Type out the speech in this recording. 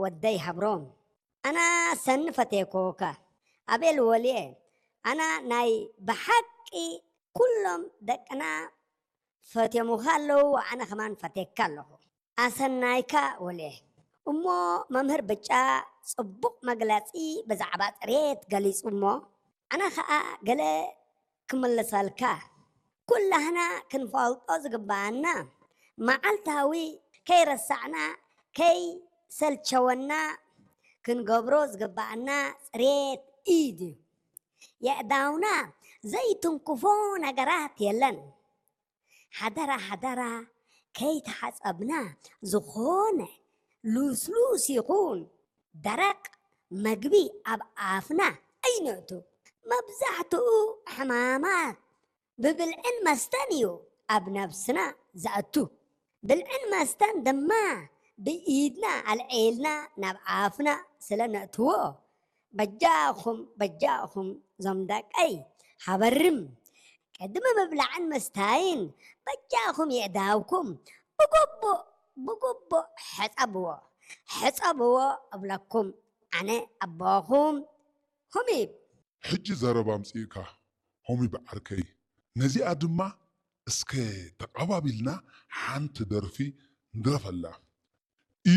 ወደይ ሃብሮም፣ ኣና ሰኒ ፈቴኮካ። ኣቤል ወልየ፣ ኣና ናይ ብሓቂ ኩሎም ደቅና ፈትዮሙኻ ኣለዉ፣ ኣነ ከማን ፈቴካ ኣለኹ። ኣሰናይካ ወልየ። እሞ መምህር ብጫ ጽቡቕ መግለጺ ብዛዕባ ጽሬት ገሊጹ እሞ፣ ኣነ ኸኣ ገለ ክምልሰልካ። ኩላህና ክንፈልጦ ዝግብኣና፣ መዓልታዊ ከይረሳዕና፣ ከይሰልቸወና ክንገብሮ ዝግብኣና ጽሬት ኢድ እዩ። የእዳውና ዘይትንክፎ ነገራት የለን። ሓደራ ሓደራ፣ ከይተሓጸብና ዝኾነ ልስሉስ ይኹን ደረቕ መግቢ ኣብ ኣፍና ኣይነእቱ። መብዛሕትኡ ሕማማት ብብልዕን መስተን እዩ ኣብ ነብስና ዘእቱ። ብልዕን መስተን ድማ ብኢድና ኣልዒልና ናብ ኣፍና ስለ ነእትዎ፣ በጃኹም በጃኹም ዞም ደቀይ፣ ሓበርም፣ ቅድሚ ምብላዕን ምስታይን በጃኹም የእዳውኩም ብግቡእ ብግቡእ ሕጸብዎ፣ ሕጸብዎ እብለኩም። ኣነ ኣቦኹም ሁሚብ። ሕጂ ዘረባ ኣምጺእካ ሆሚብ ዓርከይ። ነዚኣ ድማ እስከ ተቓባቢልና ሓንቲ ደርፊ ንድረፈላ።